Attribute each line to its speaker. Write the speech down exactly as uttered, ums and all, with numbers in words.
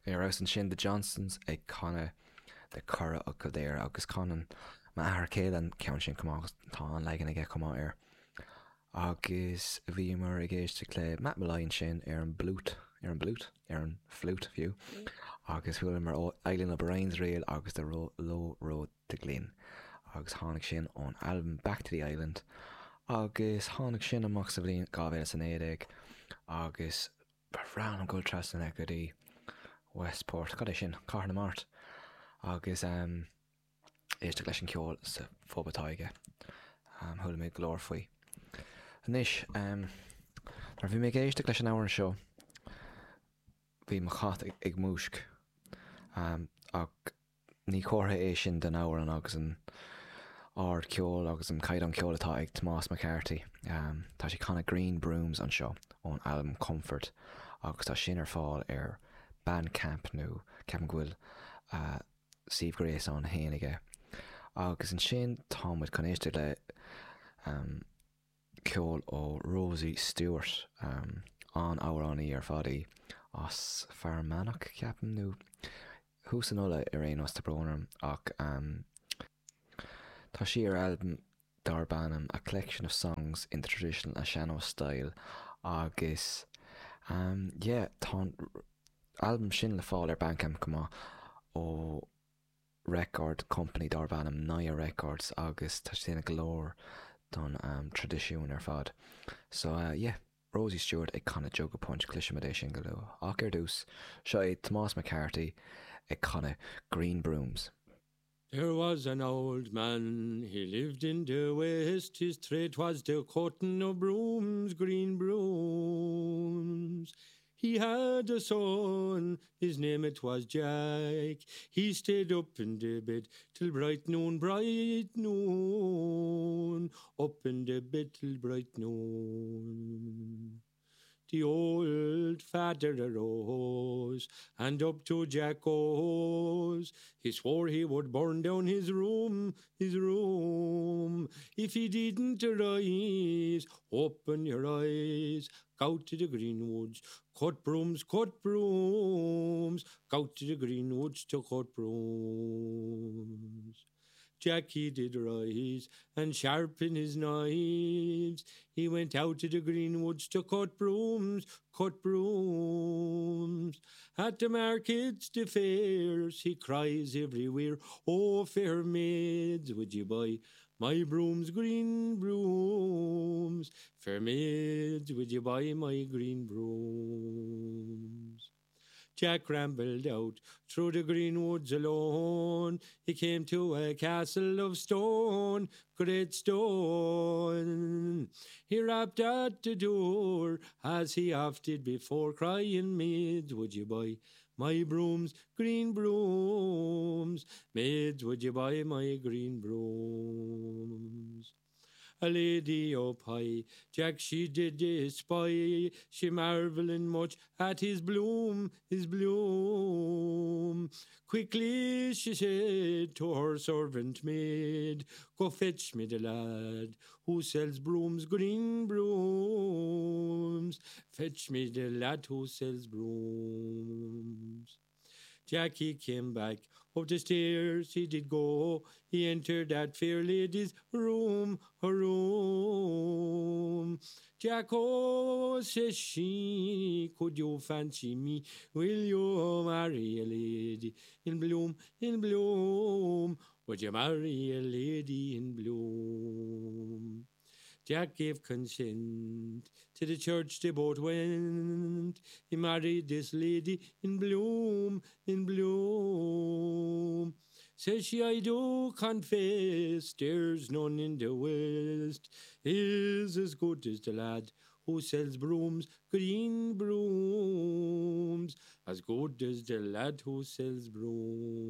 Speaker 1: Ar fheabhas ansin The Johnsons ag canadh The Curragh of Kildare agus canann m'athair céile an ceann sin chomh maith agus tá an leagan aige chomh maith air. Agus bhíomar ag éisteacht le Matt Molloy ansin ar an bplút ar an bplút ar an flute fiú agus chualamar Eileen O'Brien's Reel agus The Low Road to Glin. Agus tháinig sin ón albam Back to the Island agus tháinig sin amach sa bhliain dhá mhíle is a naoi déag agus ba bhreá liom dul trasna go dtí Westport, cad é sin, Cathair na Mart agus um, éisteacht leis an ceol sa phub atá aige. Um, chuala mé go leor faoi. Anois, um, nuair bhí mé ag éisteacht leis an amhrán seo, bhí mo chat ag, ag múisc um, ach ní comhartha é sin den amhrán agus an ardcheol agus an caighdeán ceoil atá ag Tomás McCarthy. Um, tá sé ag canadh Green Brooms anseo ón albam Comfort agus tá sin ar fáil ar Bandcamp nó ceapaim go bhfuil uh, suíomh gréasáin féin aige. Agus ansin táimid chun éisteacht le um, ceol ó Rosie Stewart um, an amhránaí ar fad í as Fear Manach ceapaim nó thuas in Uladh ar aon nós tá brón orm ach um, tá sí ar albam darb ainm A Collection of Songs in the Traditional and Sean-nós Style agus um, yeah, tá albam sin le fáil ar Bandcamp chomh maith ó record company darb ainm Naya Records agus tá sé go leor don um, traidisiún ar fad. So uh, yeah, Rosie Stewart ag canadh Jug of Punch cloisfimid é sin go luath. Ach ar dtús seo é Tomás McCarthy ag canadh Green Brooms.
Speaker 2: There was an old man, he lived in the west, his trade was the cutting of brooms, green brooms. He had a son, his name it was Jack. He stayed up in the bed till bright noon, bright noon, up in the bed till bright noon. The old father arose, and up to Jack goes. He swore he would burn down his room, his room, if he didn't arise. Open your eyes, go to the green woods, cut brooms, cut brooms, go to the green woods to cut brooms. Jack he did rise and sharpen his knives. He went out to the green woods to cut brooms, cut brooms. At the markets, the fairs, he cries everywhere, Oh, fair maids, would you buy my brooms, green brooms? Fair maids, would you buy my green brooms? Jack rambled out through the green woods alone. He came to a castle of stone, great stone. He rapped at the door as he oft did before, crying, maids, would you buy my brooms, green brooms? Maids, would you buy my green brooms? A lady up high, Jack she did espy, she marvelling much at his bloom, his bloom. Quickly she said to her servant maid, Go fetch me the lad who sells brooms, green brooms. Fetch me the lad who sells brooms. Jackie came back up the stairs he did go. He entered that fair lady's room, her room. Jack, oh, says she, could you fancy me? Will you marry a lady in bloom, in bloom? Would you marry a lady in bloom? Jack gave consent. To the church they both went. He married this lady in bloom, in bloom. Says she, I do confess, there's none in the west is as good as the lad who sells brooms, green brooms, as good as the lad who sells brooms.